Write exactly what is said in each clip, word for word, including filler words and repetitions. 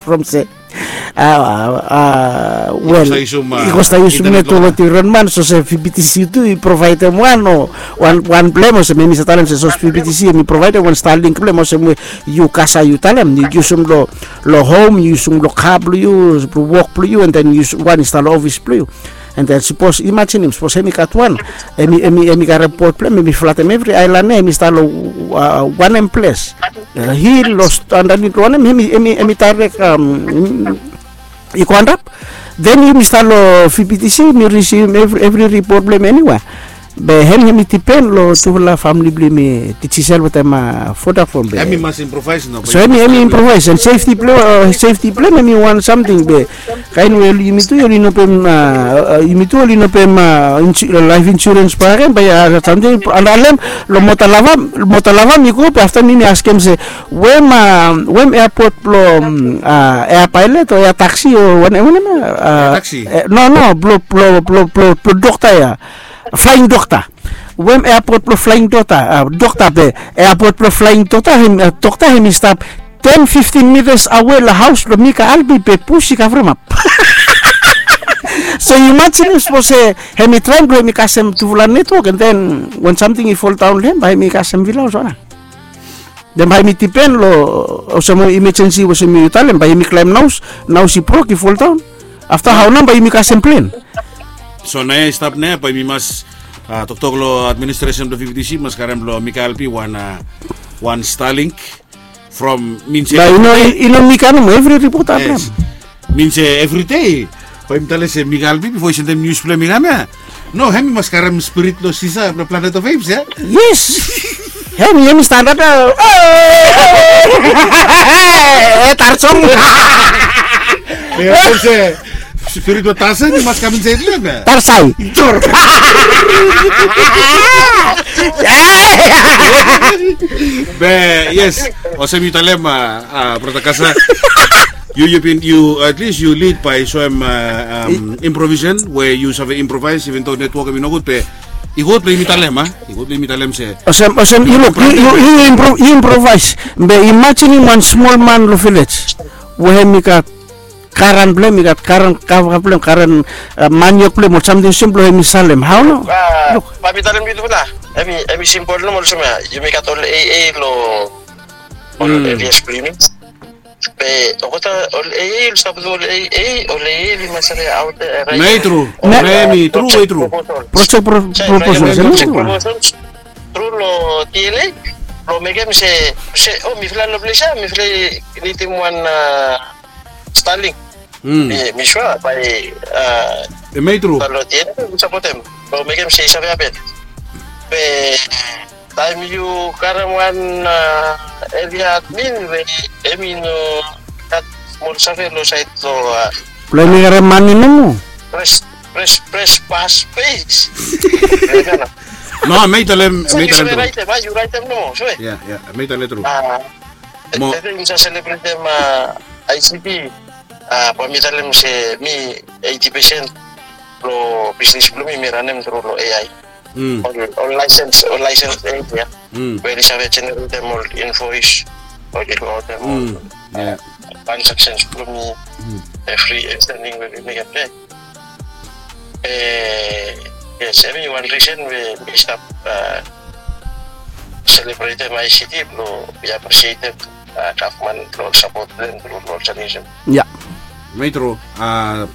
from se, a, a, wel, i go stap yusum, a, i go stap yusum internet, internet lo, lo tingron man, so se VBTC tu i provaedem wan, o wan, wan blem, o se mi, mi save talem se, so VBTC mi provaedem wan Starlink blem, o se we yu kasa yu talem, yu yusum lo, lo hom, yu yusum lo ka blo yu, blo wok blo yu, and then yu yusum wan i stap lo ofis blo yu. And then sapos, imajinim, sapos hemi gat wan, hemi, hemi, hemi karem bot blem, hemi flatem evri aelan ia, hemi stap lo, a, wanem ples. A, hil lo andanit lo wanem, hemi, hemi, hemi direct, am, i go antap. Then yumi stap lo VBTC, yumi risivim evri, evri ripot blong hem eniwe. Be hem, hemi dipen lo tufala famili blong yumi, Digicel wetem, a, Vodafone be. Hemi mas improvaes nao. So hemi, hemi improvaes, and safety blong, a, safety blong hem, hemi wan samting be. Kaen we oli, yumi tu oli no bae, a, a, yumi tu oli no bae, a, insu-, life insurance bakegen, bae, a, samting, and alem, lo Mota Lava, Mota Lava mi go, be afta mi, mi askem se, we hem, a, we hem airport blo, mm, a, air pilot o air taxi o wanem, wanem, a, taxi. E, no, no, blo, blo, blo, blo, blo dokta ia. Flying dokta. We hem airport blo flying dokta, a, dokta be, airport blo flying dokta, hem, a, dokta hemi stap ten, fifteen meters awe lo haos blo mi ka Albi be bus i kavremap. So yu imajinim sapos se hemi traem blo hemi kasem tufala netwok, and then wan samting i foldaon lo hem, bae hemi kasem villaos o wanem. Then bae hemi dipen lo, olsem emergency olsem yu talem, bae hemi klaem naos, naos i brok, i foldaon. Afta hao nao bae yumi kasem plen? So naoia i stap naoia, bae yumi mas, a, toktok lo administresen blo VBTC, mas karem blo mi ka Albi wan, a, wan Starlink from, min se, bae i no, i no mi ka nomo, evri ripota blong hem. Min se evri dei bae yumi talem se mi ka Albi bifo i sendem nius blong hem i kam ia. No, hemi mas karem spirit lo Sisa blo Planet of Apes ia. Yes. Hemi, hemi stap antap ia. E, Tarzan. Be olsem se spirit blo Tarzan i mas kam insaed lo hem ia. Tarzan. Tor. Be yes, olsem yu talem, a, a, brata Kasa. Yu, yu bin, yu, at least yu lead by soem, a, am, improvisation, we yu save improvaes, even though netwok hemi nogud, be i gud blong yumi talem, a? I gud blong yumi talem se. Olsem, olsem, yu luk, yu, yu, yu impro-, yu improvaes. Be imajinim wan smol man lo vilej we hemi gat garan blong hem, i gat garan kava blong hem, garan, a, maniok blong hem, o samting olsem blong hemi salem. Hao nao? A, luk. Bae mi talem yu tufala. Hemi, hemi simpol nomo olsem ia. Yumi gat ol AA lo ol areas blong yumi. Be olgeta ol AA oli stap tu, ol AA, ol AA oli mas save aot ia, raet. Hemi tru. Hemi tru, hemi tru. Project pro-, proposal. Tru lo TNA. Lo mekem se, se, o, mifala lo ples ia, mifala i nidim wan, a, Starlink. Mi, mi sua bae, a, hemi tru. Lo TNA oli sapotem. Lo mekem se i save hapen. Be taem yu karem wan, a, area admin we hemi no gat smol save lo saed lo, a, blong hemi karem mane nomo. Pres, pres, pres, pas, pes. No, mi talem, mi talem tru. Yu raetem nomo, sue. Ia, ia, mi talem tru. A, mo, ede yumi sa selebretem, a, ICT. A, bae mi talem se mi eighty percent lo bisnis blong mi, mi ranem tru lo AI. Ol, ol laesens, ol laesens area. We oli save jeneretem ol invoes, oli gotem ol, a, transactions blong mi. Evri, evri samting we mi mekem ia. E, yes, hemi wan risen we mi stap, a, selebretem ICT blong mi apresietem, a, gavman blong sapot blong hem tru lo ol samting olsem. Ia. Hemi tru, a,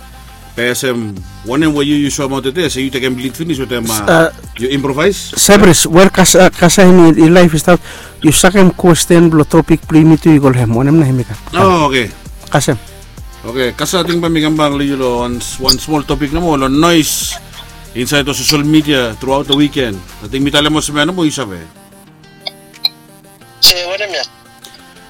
be olsem wanem we yu, yu soemaot tede se yu tekem lid finis wetem, a, yu improvaes. Sabris, wel, Kasa, Kasa hemi laef i stap, yu sakem kwesten blong topik blong yumi tu i go lo hem, wanem nao hemi kam. O, oke. Kasem. Oke, Kasa, ating bae mi kambak lo yu lo wan, wan smol topik nomo lo noes insaed lo sosel midia throughout the weekend. Ating mi talem olsem ia nomo, yu save. Se wanem ia?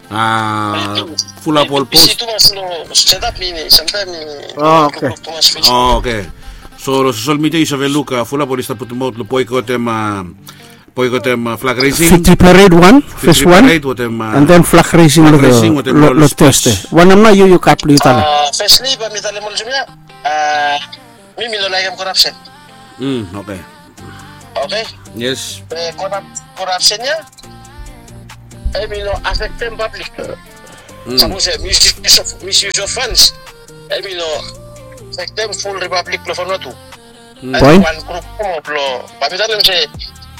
A, fulap ol pos. Bisi tumas lo setup mi, samtaem mi. O, oke. Tumas Facebook. O, oke. So lo sosel midia yu save luk, a, fulap oli stap putumaot lo boekotem, a, boekotem, a, flag raising. Victory Parade wan, first wan. Victory Parade wetem, a, and then flag raising lo, flag raising wetem lo, lo Thursday. Wanem nao yu, yu gat blong yu talem? A, firstly, bae mi talem olsem ia. A, mi, mi no laekem corruption. Mm, oke. Oke? Yes. Be corrup-, corruption ia hemi no afektem pablik. Sapos misuse of funds, hemi no afektem full Republic blong Vanuatu. Wan grup mo blong bae mi talem se,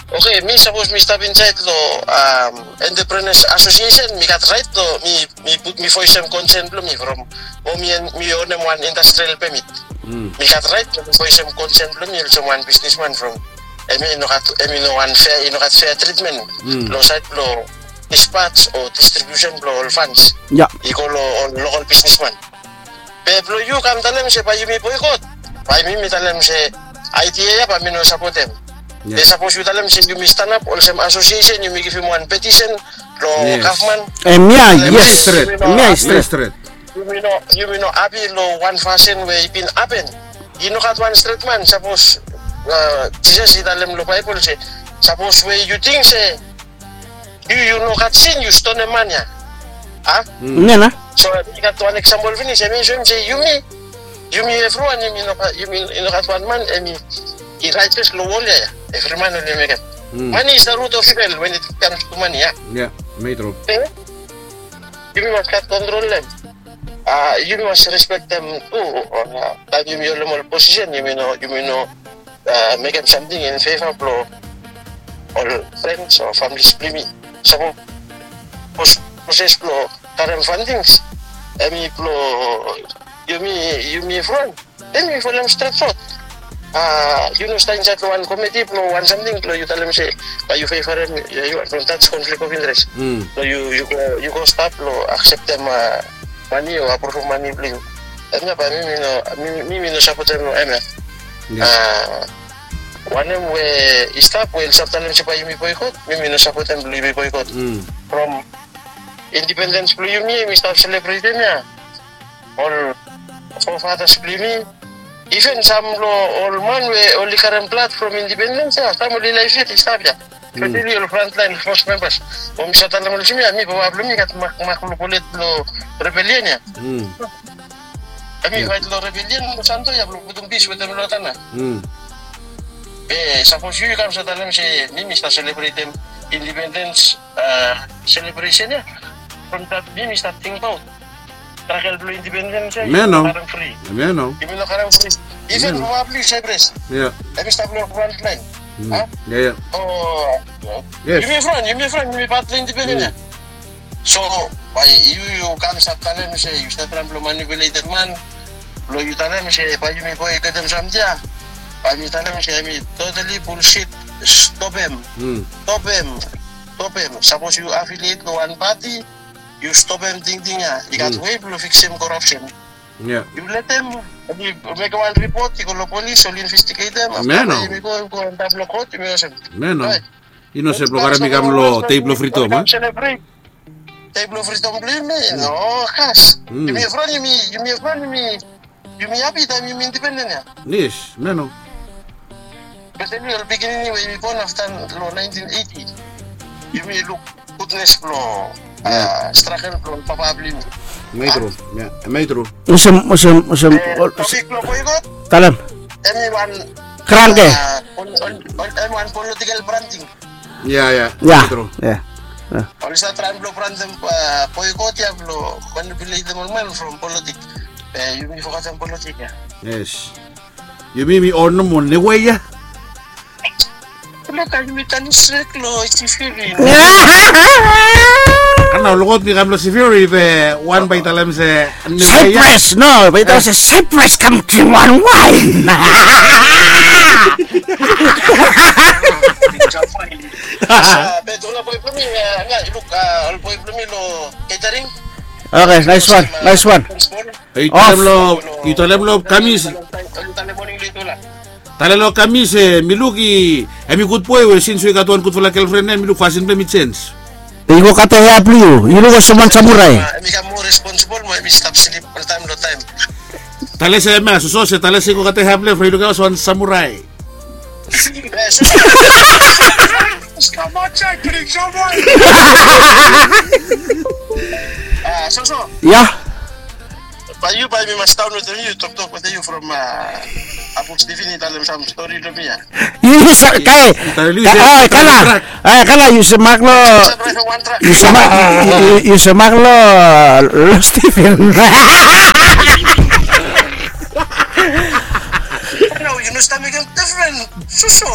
oke, mi sapos mi stap insaed long Entrepreneurs Association, mi gat raet long mi voesem konsen blong mi from mo mi onem wan industrial permit. Mi gat raet blong mi voesem konsen blong mi olsem wan bisnisman from hemi no gat, hemi no wan fea, i no gat fea tritmen long saed blong dispatch o distribution blong ol funds i go long ol lokal bisnisman. Be blong yu kam talem se bae yumi boikot, bae mi mi talem se aedia ya bae mi no sapotem. Be sapos yu talem se yumi stanap olsem asosiesen, yumi givim wan petisen long gavman. Hemia yes, hemia i stret. Yumi no hapi long wan fasin we i bin hapen. I no gat wan stret man. Sapos Jisas i talem long Baebol se sapos we yu ting se yu yu no gat sin, yu stonem man ya. A? Hemia nao. So i gat wan eksampol finis, hemi soem se yumi, yumi evriwan yumi no gat wan man hemi i raetes long wol ya ya. Evri man oli mekem. Mani is the root of evil when it comes to money, a? Yumi mas gat kontrol long hem. Yumi mas respektem tu taem yumi holem ol posisen, yumi no, yumi no mekem samting in feva blong ol frens o familis blong yumi. Sapos proses blong karem fandings hemi blong yumi, yumi evriwan, then yu folem stret rod. Yu no stap insaed long wan komiti blong wan samting blong yu talem se bae yu fevarem, yu wan from that's conflict of interest. Blong yu, yu go stap blong akseptem mani o apruvum mani blong yu. Hemia bae mi, mi no sapotem hemia. Wanem we i stap we oli stap talem se bae yumi boikot, mi mi no sapotem blong yumi boikot. From indipendens blong yumi, yumi stap selebretem ya. Ol forefathers blong yumi, iven sam long ol man we oli karem blad from indipendens ya, sam oli laef yet i stap ya. Speseli ol frontlaen fos membas. Mo mi save talem olsem ya, mi papa blong mi i gat mak, mak long bolet blong rebelian ya. Hemi faet long rebelian long Santo ya blong putum pis wetem Lotana. Be sapos yu yu kam save talem se mi mi stap selebretem indipendens selebresen ya, from that mi mi stap tingbaot stragel blong indipendens ya. Hemia nao. Yumi no karem fri. Yumi no karem fri. Iven papa blong yu Saipras, hemi stap long frontlaen. A? Ya ya. O yumi evriwan, yumi evriwan yumi pat blong indipendens ya. So bae yu yu kam save talem se yu stap traem blong manipuletem man blong yu talem se bae yumi boikotem samting ya. Bae mi talem se hemi totally bullshit. Stopem. Stopem. Stopem. Sapos yu afiliet long wan pati, yu stopem tingting ya. I gat wei blong fiksem korapsen. Yu letem, yu mekem wan ripot, i go long polis, oli investigetem. Afta yumi go, go antap long kot, yumi olsem. Hemia nao. I no se blong karem i kam long dei blong fridom, a? Dei blong fridom blong yumi, no kas. Yumi evriwan yumi, yumi evriwan yumi, yumi hapi taem yumi indipenden ya. Yes, hemia nao. Speseli ol pikinini we yumi bon afta long naentin eiti, yumi luk gudnes blong stragel blong papa blong yumi. Hemia i tru. Hemia i tru. Olsem, olsem, olsem. Topik blong boikot, talem. Hemi wan kranke. Hemi wan politikel branting. Ya ya. Ya. Oli stap traem blong brantem boikot ya blong manipuletem ol man from politik. Be yumi fokatem politik ya. Yes. Yumi mi onem wan niu wei ya. Loka yumi tanem stret long Sefiri. Nao olgeta mi kam long Sefiri be wan bae i talem se Saipras, no, bae i talem se Saipras kam dring wan waen. Be tufala boe blong mi, luk ol boe blong mi long catering. Oke, naes wan, naes wan. Yu talem long, yu talem long Kamis. Talem long Kamis se mi luk i, hemi gud boe we sins we i gat wan gudfala gelfren ya, mi luk fasin blong hem i jenis. I go kate hea blong yu, yu luk olsem wan samurai. Hemi kam moa responsibol mo hemi stap slip oltaem long taem. Talem se hemia, soso se talem se i go kate hea blong hem, from i luk olsem wan samurai. Ya. Bae yu, bae mi mas daon wetem yu, toktok wetem yu from Apuk Steven i talem sam stori long mi ya. Yu, yu sa, kae, kae, kala, kae, kala, yu se mak lo, yu se mak, yu, yu se mak lo, lo Steven. No, yu no stap mekem difren. Susu.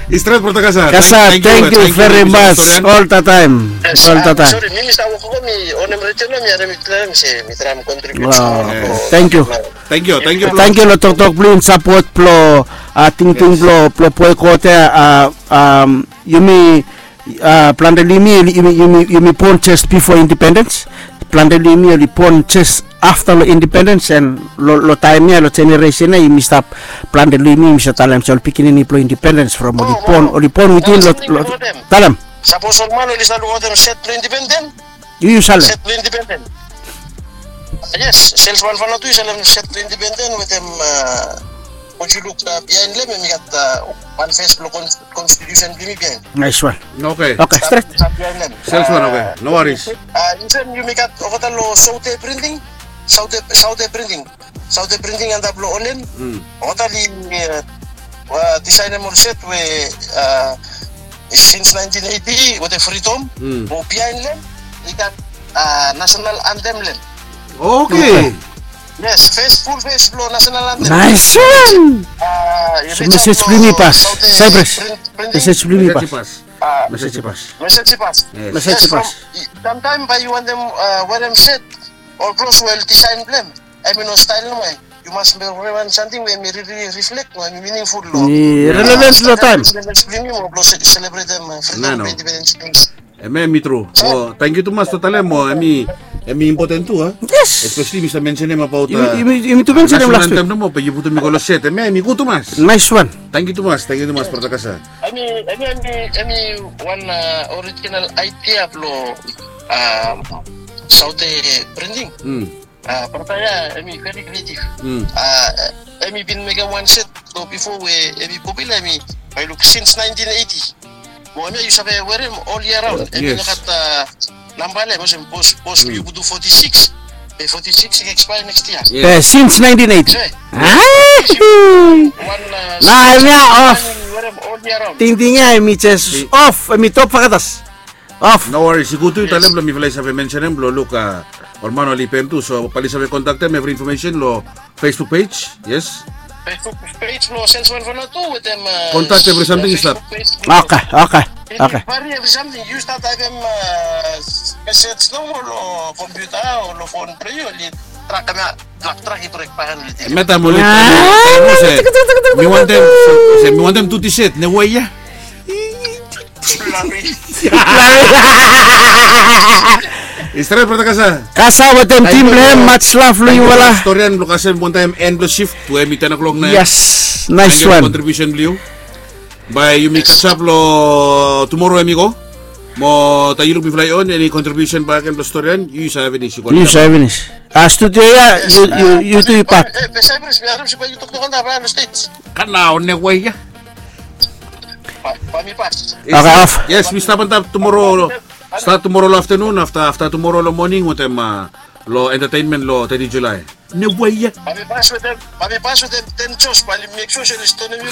I stret, brata Kasa. Kasa, thank you very much. All the time. All the time. Sorry, mi mi stap wok, mi onem redio nao, mi harem i talem se mi traem kontribut. Thank you. Thank you, thank you. Thank you lo toktok blo yu, sapot blo, tingting blo, blo boe kot ya. Yumi, plante lo yumi, yumi, yumi, yumi bon jes bifo indipendens. Plante lo yumi oli bon jes afta lo indipendens, and lo, lo taem ya, lo jeneresen ya, yumi stap, plante lo yumi, yumi stap talem se ol pikinini blo indipendens from oli bon, oli bon witin lo, lo, talem. Sapos ol man oli stap lukaotem set blo indipendens, yu, yu salem set blo indipendens. Yes, Sales One Vanuatu i salem set blo indipendens wetem, uh, Yu luk, uh, biaen lo hem, hemi gat, uh, wan fes blo kon-, konstitusen blo yumi biaen. Naes wan. Oke. Oke, stret. Sales One, oke. No worries. Uh, insait yumi gat olgeta lo Saute Printing. Saute, Saute Printing. Saute Printing antap lo Olen. Olgeta oli, uh, disaenem ol set we, uh, since nineteen eighty wetem Freedom. Mo biaen lo hem i gat, uh, national anthem lo hem. Oke. Yes, fes, ful fes blo national anthem. Naes wan. Mesej blo yumi i pas. Saipras. Mesej blo yumi i pas. Mesej i pas. Mesej i pas. Samtaem bae yu wantem, uh, werem set, ol klos we oli disaen blo hem, hemi no stael nomo. Yu mas werem wan samting we hemi rili riflek, hemi miningful lo, i relevans lo taem. Blo yumi mo blo selebretem, uh, fridom, indipendens. Hemia hemi tru. Mo tangkiu tumas lo talem, mo hemi, hemi impoten tu, a? Yes. Espeseli mi stap mensenem abaot, yumi, uh, yumi, yumi tu mensenem las wik. National anthem nomo, be yu putum i go lo set. Hemia hemi gud tumas. Naes wan. Tangkiu tumas, tangkiu tumas, brata Kasa. Hemi, hemi, hemi, hemi wan, uh, orijinal aedia blo, uh, Saute Printing. Uh, brata ya, hemi very creative. Uh, hemi bin mekem wan set lo bifo we hemi popular, hemi, bae yu luk, since nineteen eighty. Mo hemia yu save werem ol yia raon. Hemi no gat, uh, namba lo hem, olsem bos, bos, yu putum forty-six. Be forty-six i ekspaea next yia. Be since nineteen eighty. Nao hemia of. Tingting ya hemi jes of, hemi top fakatas. Of. No worries, i gud tu yu talem blo mifala i save mensenem blo luk, uh, ol man oli pem tu, so bae oli save kontaktem, evri infomesen lo Facebook page, yes. Facebook page blo Sales One Vanuatu wetem, uh, kontak, evri samting i stap. Oke, oke, oke. Evri samting, yu stap taepem, uh, mesej nomo lo kompiuta o lo fon blo yu, oli trak hemia. Hemia taem oli, se mi wantem, se mi wantem tu ti set, ne we ya. I stret, brata Kasa. Kasa wetem tim blo hem, much love lo yufala. Storian blo kasem wantaem en blo shift, we hemi ten o'clock nao. Yes, naes wan. Kontribiusen blo yu. Bae yumi kasem lo tumoro hemi go. Mo taem yu luk mifala i on, eni kontribiusen bakegen blo Storian, yu save finis. Yu save finis. A, studio ya, yu, yu, yu tu yu pat. Kam nao, ne we ya. Oke, of. Yes, mi stap antap tumoro, stat tumoro lo aftenun, afta, afta tumoro lo moning wetem, uh, lo entertainment lo teti Julae. Ne we ya. Bae mi pas wetem, bae mi pas wetem ten jos, bae oli mek sua se oli stonem yu.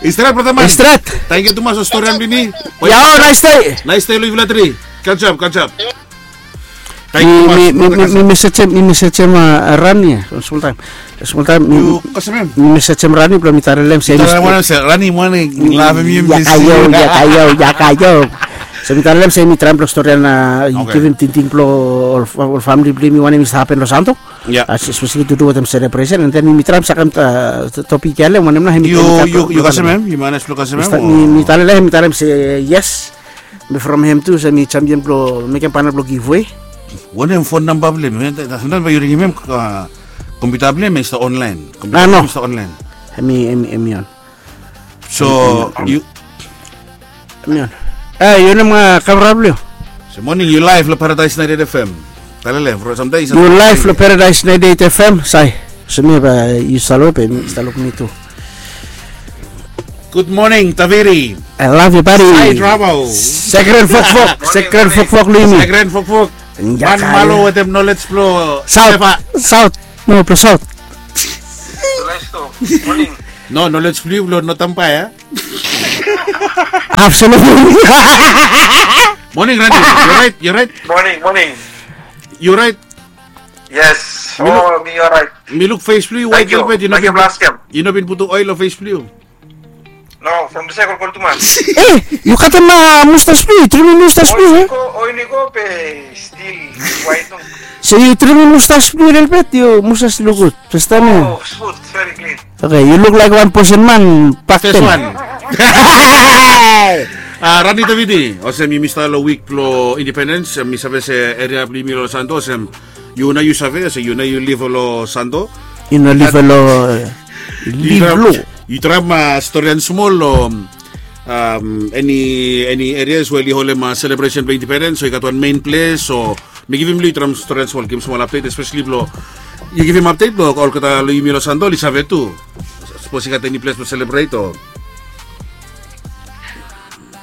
I stret, brata man. I stret. Tangkiu tumas lo Storian blo yumi. Yao, naes dei. Naes dei lo yufala tri. Good job, good job. Mi, mi, mi mesejem, mi mesejem, uh, Rani ya, smol taem. Smol taem mi, mi mesejem Rani blo mi talem se, Rani, moning, lavem yu, ya kae yu, ya kae yu, ya kae yu. So mi talem se mi traem blo Storian, uh, i givim tingting blo ol, ol famili blo yumi wanem i stap hapen lo Santo. Ya. Uh, espeseli tu du wetem selebresen, and then mi traem sakem, uh, topik ya lo hem, wanem nao hemi, yu kasem hem, yu manes blo kasem hem. Mi talem, mi talem se yes. Be from hem tu se mi champion blo mekem panel blo giveaway. Wanem fon namba blo hem? Samtaem bae yu ringim hem, uh, kompiuta blo hem i stap online. Kompiuta blo hem i stap online. Hemi, hemi, hemi on. So yu, hemi on. E, yu wanem kamera blo yu? Se moning yu live lo Paradise ninety eight F M. Talem, from samtaem yu live lo Paradise ninety eight F M, Sai. So mi bae yu stap luk, bae mi stap luk mi tu. Good morning, Taviri. I love you, buddy. Sai Dravo. Sekren Fokfok, Sekren Fokfok, Limi. Sekren Fokfok. Wan malo wetem knowledge blo South, Sefa. South. No, blo South. Morning. No, knowledge blo yu blo no tampa ya. Absolutely. Morning, Randy. You right? You right? Morning, morning. You right? Yes. Mi luk, oh, mi alright. Mi luk face blo yu, white velvet. Yu no bin putum oil lo face blo yu. No, from the second call tumas. Eh, yu katem mustache blo yu, trim mustache blo yu. Oiniko, oiniko be still white no. So yu trim mustache blo yu lelebet, yu mustache luk gud. First time ya. Oh, smooth, very clean. Okay, yu luk laik wan bosen man bakten. First one. Ah, Rani Taviti, olsem yumi stap lo wik blo independens, mi save se eria blo yumi lo Santo olsem yu nao yu save se yu nao yu liv lo Santo. Yu nao liv lo, liv lo. Yu traem storian smol lo eni, eni erias we oli holem selebresen blo independens, so i gat wan mein ples o mi givim lo yu traem storian smol, givim smol apdet, espeseli blo yu givim apdet blo olgeta lo yumi lo Santo oli save tu. Sapos i gat eni ples blo selebret o.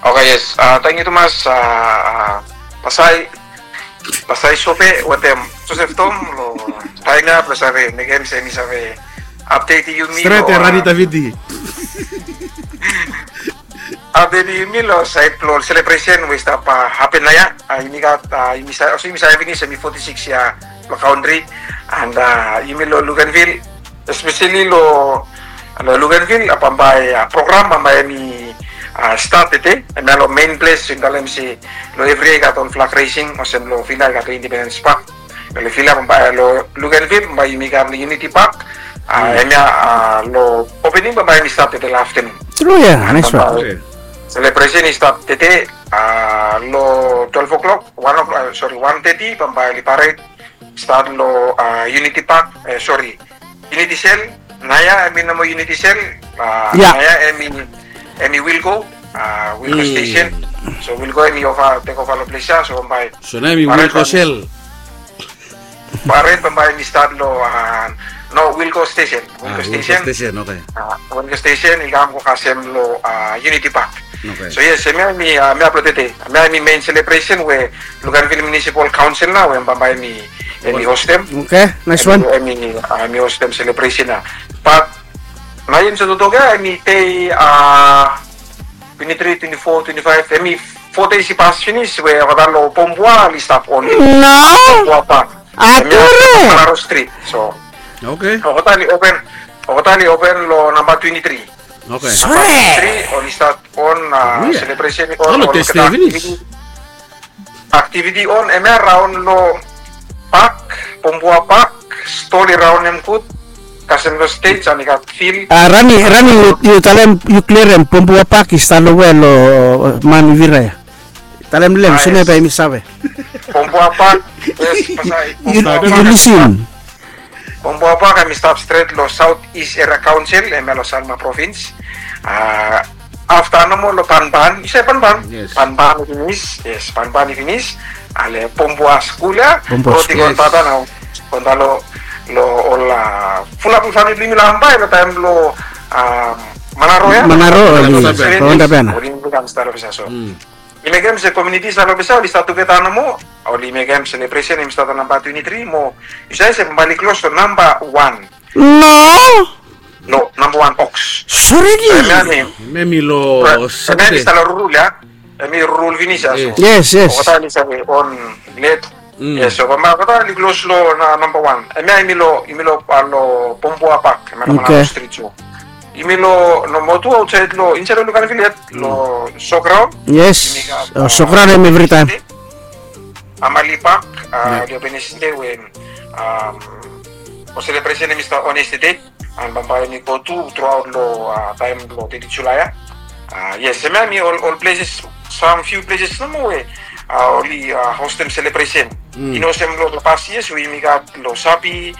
Okay, yes. Tangkiu tumas, Pasai, Pasai Sope wetem Joseph Tom lo taem ya blo save mekem se mi save apdet yumi. Stret lo, ya, Rani Taviti. Apdet yumi lo saed blo selebresen we i stap hapen naoia. Yumi gat, yumi save, olsem yumi save finis, yumi foti sikis yia lo kaontri. And yumi lo Luganville, espeseli lo, lo Luganville, bambae program bambae hemi stat tede, hemia lo mein ples, yumi talem se lo evri yia i gat ol flag raising, olsem lo Vila i gat lo Independence Park. Lo Vila bambae, lo Luganville bambae yumi gat lo Unity Park. Hemia lo opening bambae hemi stat tede lo aftenun. Tru ya, nais wan. Selebresen i stat tede lo twelve o'clock, wan o'clock, sori, wan teti bambae oli pared stat lo Unity Park, sori, Unity Cell. Naoia hemi no moa Unity Cell. Naoia hemi, hemi Wilco, Wilco Station. So Wilco hemi ova, tek ova lo ples ya, so bambae. So naoia hemi Wilco Cell. Pared bambae hemi stat lo, no, Wilco Station. Wilco Station, okay. Wilco Station i kam go kasem lo Unity Park. Okay. So yes, hemia hemi, hemia blo tede, hemia hemi mein selebresen we Luganville Municipal Council nao we bambae hemi, hemi hostem. Okay, nais wan. Hemi, hemi hostem selebresen ya. Bat naoia yumi stap toktok ya, hemi dei twenti tri, twenti fo, twenti faef, hemi fo dei i pas finis we olgeta lo Pombua oli stap on. No. Pombua Park. Hemia Manaro Street. So. Okay. Olgeta oli open, olgeta oli open lo namba twenti tri. Okay. Namba twenti tri oli stat on selebresen, oli olgeta aktiviti on hemia raon lo pak, Pombua Pak, stol i raonem gud, kasem lo stej, hemi gat fil. Rani, Rani, yu talem, yu klirem, Pombua Pak i stap lo we lo man i vira ya. Talem lo hem, olsem ya bae yumi save. Pombua Pak, yes, Pasai. Yu, yu lisin. Pombua Pak hemi stap stret lo South East Area Council, hemia lo Sanma Provins. Afta nomo lo Banban, yu save Banban? Yes. Banban i finis, yes, Banban i finis. Ale Pombua skul ya, Pombua skul. Rod i go antap ya nao, go antap lo, lo ol fulap famili blo yumi lo Ambae lo taem blo Manaro ya. Manaro, oli antap ya nao. Oli kam stap lo ples ya so. Oli mekem se komuniti i stap lo ples ya, oli stap tugeta nomo. Oli mekem selebresen, hemi stat lo namba twenti tri mo yu save se bambae oli klos lo namba wan. No. No, namba wan Oaks. Sori. Hemia hemi lo Satade. Hemi stap lo rurul ya. Hemi rurul finis ya so. Yes, yes. Olgeta oli save on let. Yes, so bambae olgeta oli klos lo namba wan. Hemia hemi lo, hemi lo, lo Pombua Pak, hemia lo Manaro Street so. Hemi lo nomo tu aotsaed lo, insaed lo Luganville yet, lo Showground. Yes. Showground hemi evritaem. Amali Pak, oli open yestede we ol selebresen hemi stap on yestede. And bambae hemi go tu truaot lo taem blo teti Julae ya. Yes, hemia hemi ol, ol pleses, sam fiu pleses nomo we oli hostem selebresen. I no olsem lo pas yias we yumi gat lo Sapi,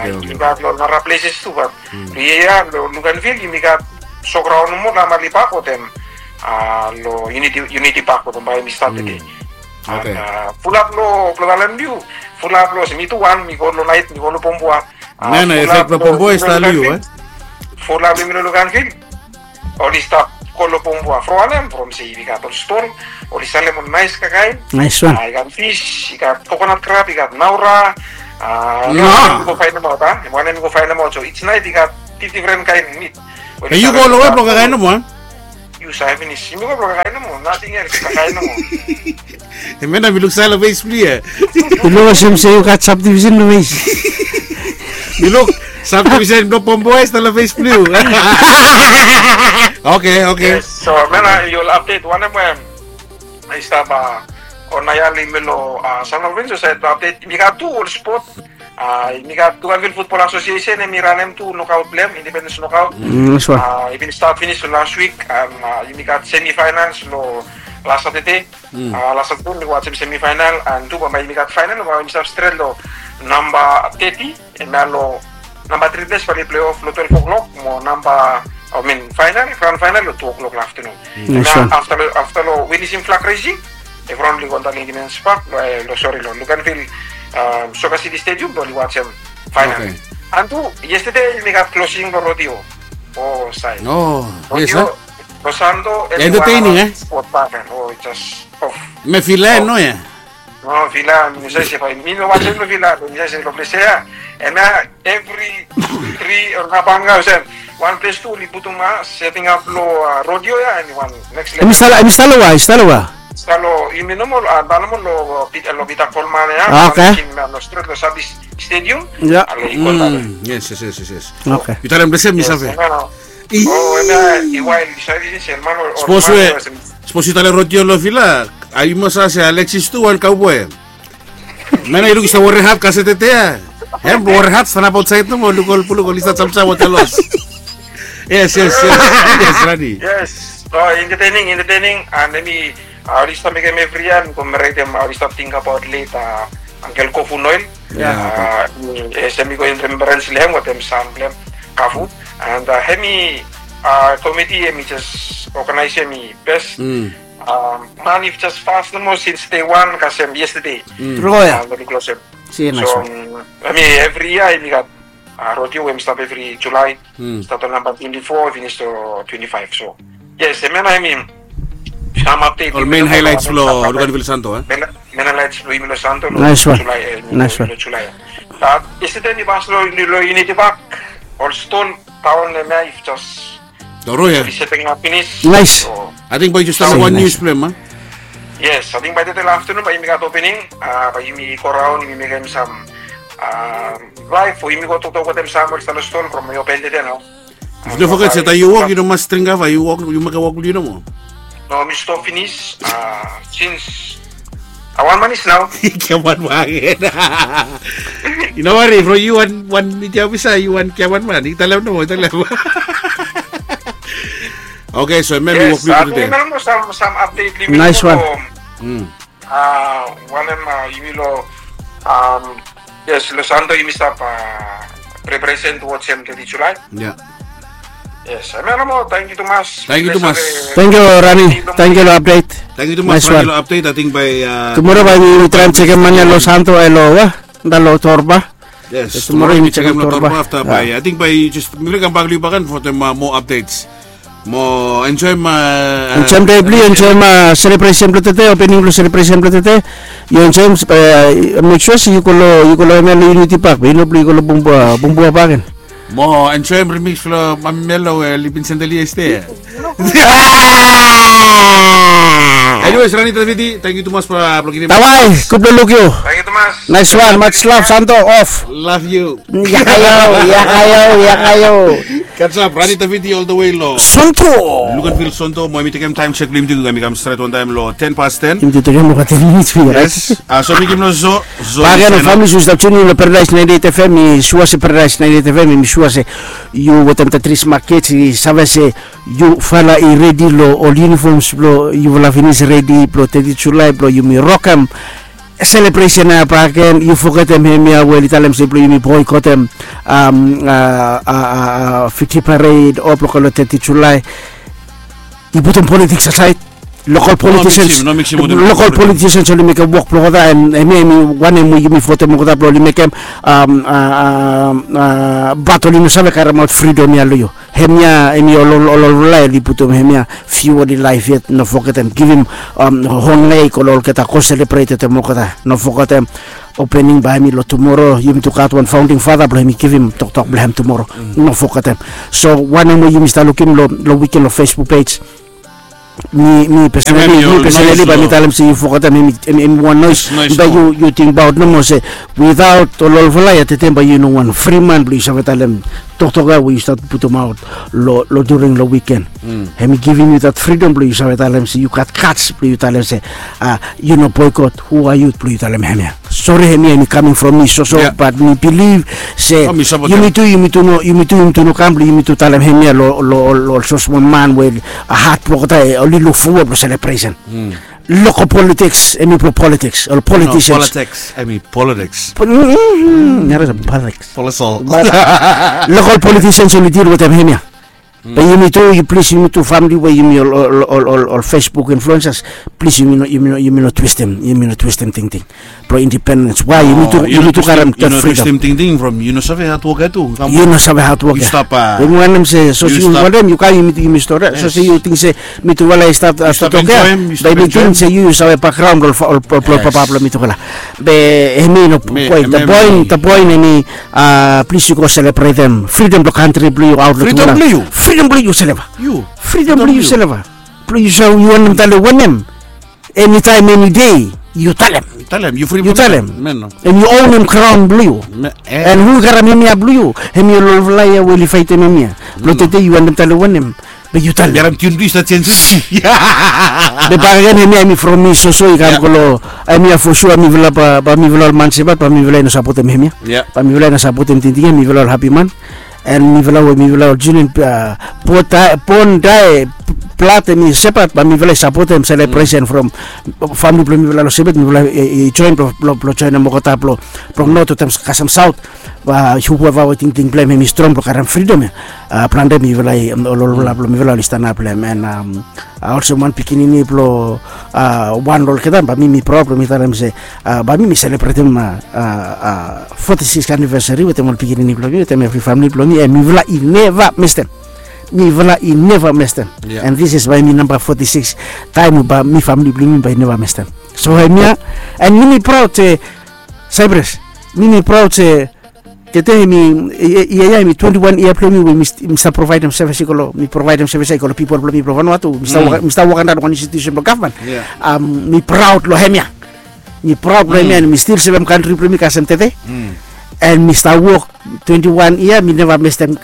yumi gat lo nara pleses tu, bat lo yia ya lo Luganville yumi gat Showground nomo, lo Amali Pak wetem lo Unity, Unity Pak wetem bambae hemi stat tede. Fulap lo, blo talem lo yu, fulap lo, se mi tu wan, mi go lo naet, mi go lo Pombua. Nana, efek blo Pombua i stap lo yu, eh? Fulap lo yumi lo Luganville. oli stap go long Pombua from wanem, from se yumi gat ol ston, oli salem ol nais kakaen. Nais wan. I gat fis, i gat kokonat krab, i gat naura. Wanem mi go faenemaot a, wanem mi go faenemaot. So each night i gat difdifren kaen mit. Be yu go long we blong kakaen nomo a? Yu save finis. Yumi go blong kakaen nomo, nating els, kakaen nomo. Hemia nao mi luk save long fes blong yu ya. Mi luk olsem se yu gat sabdivisen long fes. Mi luk sabdivisen blong Pombua i stap long fes blong yu. Oke, oke. So hemia nao yu ol apdet wanem we i stap. Ol nao ya long yumi long San Lorenzo saed, apdet yumi gat tu ol spot. Yumi gat Luganville Football Association, hemi ranem tu nokaot blong hem, Independence Knockout. I bin stat finis long las wik, and yumi gat semifinals long las Satade. Las Satade mi wajem semifinal, and tu bambae yumi gat final, bambae yumi stap stret long namba teti, hemia long namba tri ples bae oli pleof long twelve o'clock mo namba, I mean final, grand final long two o'clock long afternoon. Hemia afta long winisim flag raising, evriwan oli go antap long Independence Park, long, sori, long Luganville Soccer City Stadium blong oli wajem final. And tu yestade yumi gat closing blong rodeo. O saed. Rodeo. Los Santo, entertaining, e? Spot paken. O, jas of. Hemia vila no ya? No, vila mi no save se bae mi no wajem long vila, mi save se long ples ya. Hemia evri tri o nabanga olsem wan ples tu oli putum a setting up long rodeo ya, hemi wan next level. Hemi stap long, hemi stap long wa, hemi stap long wa? Stap long, yumi nomo, a, stap nomo long Peter Coleman ya. Oke. Long stret long Sabis Stadium. Ya. Yes, yes, yes, yes. Oke. Yu talem olsem mi save. O, hemia i wael, yu save se man o. Sapos we, sapos yu talem rodeo long vila, a yu mas save se Alexis tu wan cowboy. Hemia nao yu luk i stap wore hat, kasete ya. Hem wore hat, stanap aotsaed nomo, luk ol puluk oli stap jamjam wetem los. Yes, yes, yes. Yes, Rani. Yes. So entertaining, entertaining, and hemi, oli stap mekem evri yia, mi go meretem, oli stap tingbaot late Uncle Kofu Noel. Hemi go in remembrance long hem wetem sam blong hem, Kafu. And hemi komiti hemi jes oganaesem hemi bes. Man i jes fas nomo sins dei wan kasem yestade. Tru ya. Oli klosem. So hemi evri yia hemi gat rodeo we hemi stap evri Julae. Stat long namba twenti fo, finis long twenti faef. So yes, hemia nao hemi sam apdet. Ol men haelaets blong Luganville Santo, e? Men haelaets blong yumi long Santo long Julae. Nais wan. Long Julae. Bat yestade mi pas long Unity Park, ol ston taon hemia i jes Toro ya. Oli setting up finis. Nais. Ating bae yu jes talem wan nius blong hem, a? Yes, ating bae tede long aftenun bae yumi gat opening, bae yumi go raon, yumi mekem sam laef, o yumi go toktok wetem Samuel Sanaston from yu open tede nao. Yu no foget se taem yu wok yu no mas dring kava, yu wok, yu mekem wok blong yu nomo. No, mi stop finis sins a wan manis nao. Giaman bakegen. Yu no wari from yu wan, wan miti ofisa, yu wan giaman man. Yu talem nomo, yu talem. Oke, so hemia mi wok blong yu tede. Nais wan. Wanem, yumi long, yes, long Santo yumi stap preparesen towards hem teti Julae. Ya. Yes, hemia nomo, tangkiu tumas. Tangkiu tumas. Tangkiu Rani, tangkiu long apdet. Tangkiu tumas Rani long apdet. Ating bae tumoro bae yumi traem jekem man ya long Santo, e, long wa, nao long Torba. Yes, tumoro yumi jekem long Torba afta bae, ating bae jes mi kam bak long yu bakegen for the more updates. Mo enjoem, enjoem dei blong yu, enjoem selebresen blong tede, opening blong selebresen blong tede. Yu enjoem, mek sua se yu go long, yu go long hemia long Unity Park, be yu no blong yu go long Bumbua, Bumbua bakegen. Mo enjoem remix blong Mami Melo we oli bin sendel yu yestade. Anyways, Rani Taviti, tangkiu tumas blong givim. Bye bye, gud blong luk yu. Tangkiu tumas. Nais wan, much love, Santo off. Love you. Yakayo, yakayo, yakayo. Katsap, Rani Taviti all the way long Santo. Luganville Santo, mo yumi tekem taem jek blong yumi tu, yumi kam stret wantaem long ten past ten. Yumi tu tekem long ten minits blong yu, right? Yes. So mi givim long Zo, Zo. Bakegen ol famili yu stap tuning long Paradise ninety-eight FM, mi sua se Paradise ninety-eight FM, mi sua se yu wetem Tetris Market, i save se yufala i redi long ol uniforms blong yufala finis redi blong teti Julae blong yumi rokem selebresen ya bakegen. Yu fogetem hemia we oli talem se blong yumi boikotem Fiji Parade o blong go long teti Julae. Yu putum politiks asaed. Lokal politicians, lokal politicians oli mekem wok blong olgeta, and hemia hemi wanem we yumi votem olgeta blong oli mekem, bat oli no save karemaot fridom ya long yu. Hemia hemi ol ol ol ol oli putum hemia. Fiu oli laef yet, no fogetem givim hon lek ol olgeta go selebret wetem olgeta, no fogetem opening bae hemi long tumoro. Yumi tu gat wan faonding fata blong hemi givim toktok blong hem tumoro. No fogetem. So wanem we yumi stap lukim long wiken long Facebook pej, mi mi pesenali mi pesenali bae mi talem se yu fogetem hemi wan noes. Bae yu yu tingbaot nomo se without ol olfala ya tete bae yu no wan fri man blong yu save talem toktok ya we yu stap putumaot long during long wiken. Hemi givim yu dat fridom blong yu save talem se yu gat kats blong yu talem se yu no boikot. Hu a yu blong yu talem hemia? Sori, hemia hemi kaming from mi soso, bat mi bilif se yumi tu yumi tu no yumi tu yumi tu no kam blong yumi tu talem hemia long ol sosmol man we hat blong olgeta oli luk fowod long selebresen. Lokal politiks hemi blong politiks ol politisians. Politiks hemi politiks. Lokal politisians oli dil wetem hemia. Be yumi tu yu plis yumi tu famili we yumi ol ol ol ol ol Facebook influensas, plis yumi no yumi no yumi no twistem yumi no twistem tingting blong indipendens. Wai yumi tu yumi tu karem dat fridom. Tingting from yu no save hatwok ya tu. Yu no save hatwok ya. Yumi wanem se sose yu wanem yu kam yumi tu yumi stori sose yu ting se mitufala i stap stap tok ya. Be mi ting se yu yu save bakgraon blong ol papa blong mitufala. Be hemi no poen da poen da poen hemi plis yu go selebretem fridom blong kantri blong yu aot long tufala. Fridom blong yu seleva. Fridom blong yu seleva. Blong yu save yu wanem tale wanem. Enitaem enidei yu talem. Yu talem. Em yu onem graon blong yu. Em hu i karem hemia blong yu. Hemi ol olfala ya we oli faetem hemia blong tede yu wanem tale wanem. Be yu talem. Be bakegen hemia hemi from mi soso i kam go long hemia fosua mifala bae mifala ol man sebat bae mifala i no sapotem hemia. Bae mifala i no sapotem tingting ya mifala ol hapi man. And mifala we mifala ol junior, bon dae blad hemi sepat bae mifala i sapotem selebresen from famili blong mifala long sepat mifala i joen blong joenem olgeta blong not wetem kasem saot. Whoever we tingting blong hem hemi strong blong karem fridom ya. Plante mifala i ol olfala blong mifala oli stanap long hem and olsem wan pikinini blong wan long olgeta bae mi mi praod blong mi talem se bae mi mi selebretem foti sikis anivesari wetem ol pikinini blong mi wetem evri famili blong mi and mifala i neva mestem. Mifala i neva mestem. And this is bae mi namba foti sikis taem we bae mi famili blong mi bae i neva mestem. So hemia and mi mi praod se Saipres, mi mi praod se tete hemi ia ya hemi twenti wan yia blong mi we mi stap provaedem sevis i go long mi provaedem sevis ya i go long pipol blong mi blong Vanuatu. Mi stap wok antap long wan institusen blong gavman. Mi praod long hemia. Mi praod long hemia and mi stil sevem kantri blong mi kasem tete. And mi stap wok twenti wan yia mi neva mestem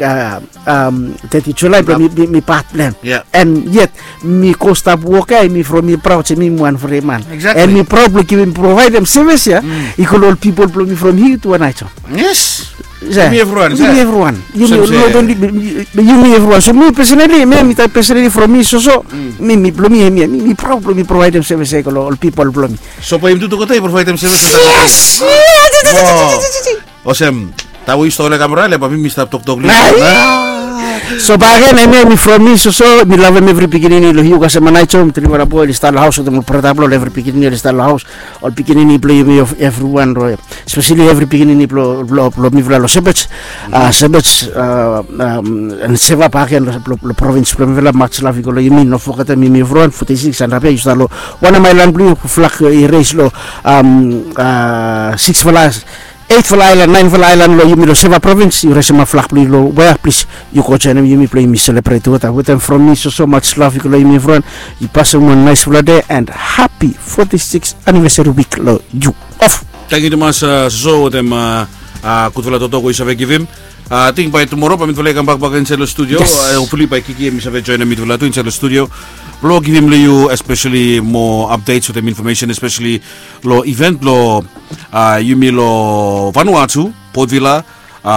teti Julae blong mi pat blong hem. And yet mi go stap wok ya mi from mi praod se mi wan fri man. And mi praod blong givim provaedem sevis ya i go long ol pipol blong mi from hiu tu wan aijo. Yes. Yumi evriwan. Yumi evriwan. Yumi evriwan so mi pesenali mi mi taem pesenali from mi soso mi mi blong mi hemia mi mi praod blong mi provaedem sevis ya i go long ol pipol blong mi. So bae yumi tu tokota i provaedem sevis. Yes. Olsem taem we yu stap olem kamera le bae mi mi stap toktok long yu. So bae gen hemia mi from mi soso mi lavem evri pikinini long hiu kasem anaijo mi trifala boe oli stap long haos wetem ol brata blong ol evri pikinini oli stap long haos. Ol pikinini blong yumi evriwan speseli evri pikinini blong mifala long sebej sebej and seva baken long provins blong mifala mats lav i go long yumi no fogetem yumi evriwan foti sikis and rabia yu stap long wanem aelan blong yu flak i res long siksfala eitfala aelan naenfala aelan long yumi long seva provins yu resemap flak blong yu long wea plis yu go joenem yumi blong yumi selebret tugeta wetem from mi soso mats lav i go long yumi evriwan. Yu pasem wan naesfala dei and hapi foti sikis anivesari wik long yu. Of. Tangkiu tumas soso wetem gudfala toktok we yu save givim. Ating bae tumoro bae mitufala i kambak bak insaed long studio. Hopefully bae Kiki hem i save joenem mitufala tu insaed long studio blong givim long yu espeseli moa apdets wetem infomesen espeseli long iven blong yumi long Vanuatu, Port Vila,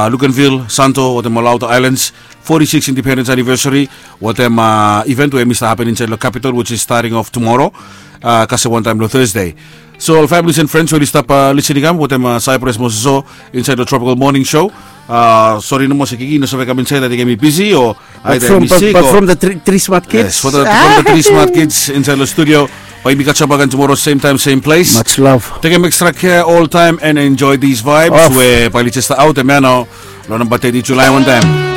Luganville, Santo wetem ol aota aelans. Foti sikis indipendens anivesari wetem iven we hem i stap hapen insaed long kapitol which is stating of tumoro kasem wantaem long Thursday. So ol familis and frens we oli stap lisin i kam wetem Saipres mo soso insaed long Tropical Morning Show. Sori nomo se kiki i no save kam insaed, ating em i bisi o aita em i sik. But from the three smart kids, from the three smart kids insaed long studio, bae yumi kasem bak gen tumoro, sem taem, sem ples. Much love. Tekem extra kea oltaem and enjoe these vibes we bae oli jes aot em ya nao long namba teti Julae wantaem.